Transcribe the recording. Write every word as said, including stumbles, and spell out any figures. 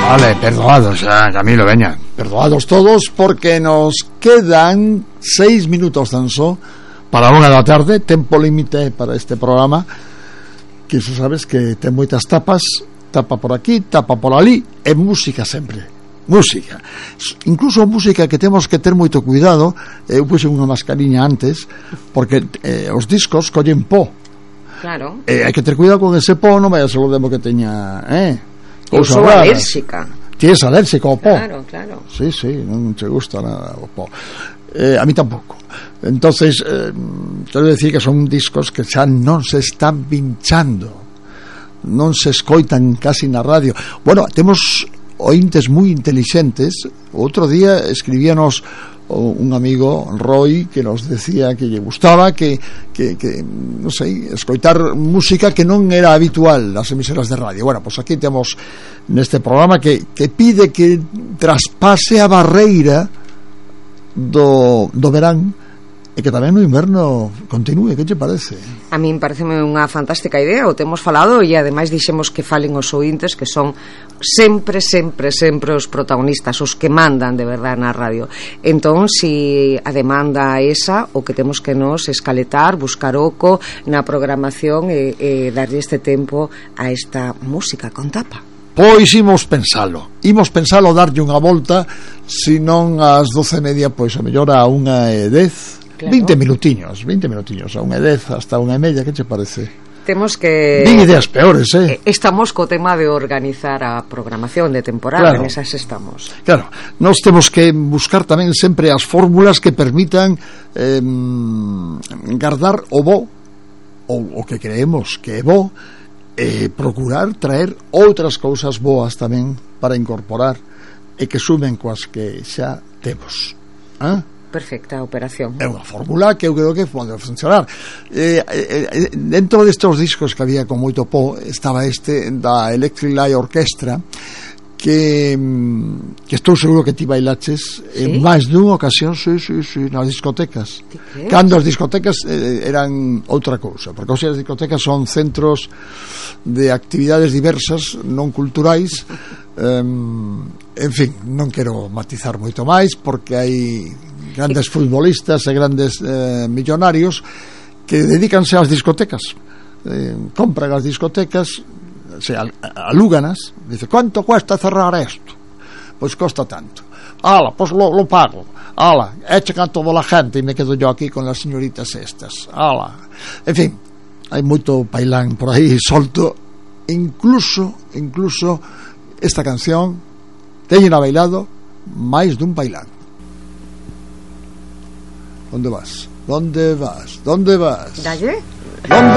Vale, perdoados, eh, Camilo, veña. Perdoados todos, porque nos quedan seis minutos tan só para unha da tarde, tempo límite para este programa, que xa sabes que ten moitas tapas, tapa por aquí, tapa por ali, e música sempre. Música. Incluso música que temos que ter moito cuidado. Eu puse unha mascariña antes, porque eh, os discos collen po. Claro. E hai que ter cuidado con ese po, non vai a ser o demo que teña, eh? Eu sou alérxica. Ti és alérxica ao po? Claro, claro. Sí, sí, non te gusta nada o po. Eh, a mí tampouco. Entonces, eh, quero decir que son discos que xa non se están pinchando, non se escoitan casi na radio. Bueno, temos ointes moi intelixentes. Outro día escribíanos un amigo, Roy, que nos decía que lle gustaba que, que, que non sei, escoitar música que non era habitual nas emisoras de radio. Bueno, pois pues aquí temos neste programa que, que pide que traspase a barreira do, do verán e que tamén no inverno continúe. Que te parece? A min pareceme unha fantástica idea, o temos falado e ademais dixemos que falen os ointes, que son sempre, sempre, sempre os protagonistas, os que mandan de verdade na radio. Entón, si a demanda é esa, o que temos que nos escaletar, buscar oco na programación e, e darlle este tempo a esta música con tapa. Pois imos pensalo, imos pensalo, darlle unha volta, se non ás doce e media, pois a mellor a unha e dez. Claro. veinte minutiños, veinte minutiños, a unha e dez hasta unha e media, que che parece? Temos que... Din ideas peores, eh? Estamos co tema de organizar a programación de temporada, claro. Nesas estamos. Claro, nós temos que buscar tamén sempre as fórmulas que permitan eh, guardar o bo, ou o que creemos que é bo, e procurar traer outras cousas boas tamén para incorporar e que sumen coas que xa temos. Ah? Perfecta operación. É unha fórmula que eu creo que pode funcionar. Eh, eh, dentro destes discos que había con moito po, estaba este da Electric Light Orchestra, que, que estou seguro que ti bailaches en ¿sí? máis dunha ocasión, sí, sí, sí, nas discotecas. Cando as discotecas eh, eran outra cousa, porque hoxe as discotecas son centros de actividades diversas, non culturais. Um, en fin, non quero matizar moito máis, porque hai grandes futbolistas e grandes eh, millonarios que dedícanse ás discotecas, eh, compran as discotecas, se al, alúganas, dice, ¿cuánto cuesta cerrar esto? Pois costa tanto. Ala, pois lo, lo pago. Ala, echa a toda a gente e me quedo yo aquí con las señoritas estas. Ala. En fin, hai moito pailán por aí solto. Incluso, incluso esta canción teñen a bailado máis dun pailán. ¿Dónde vas? ¿Dónde vas? ¿Dónde vas? ¿Dalle? ¿Dónde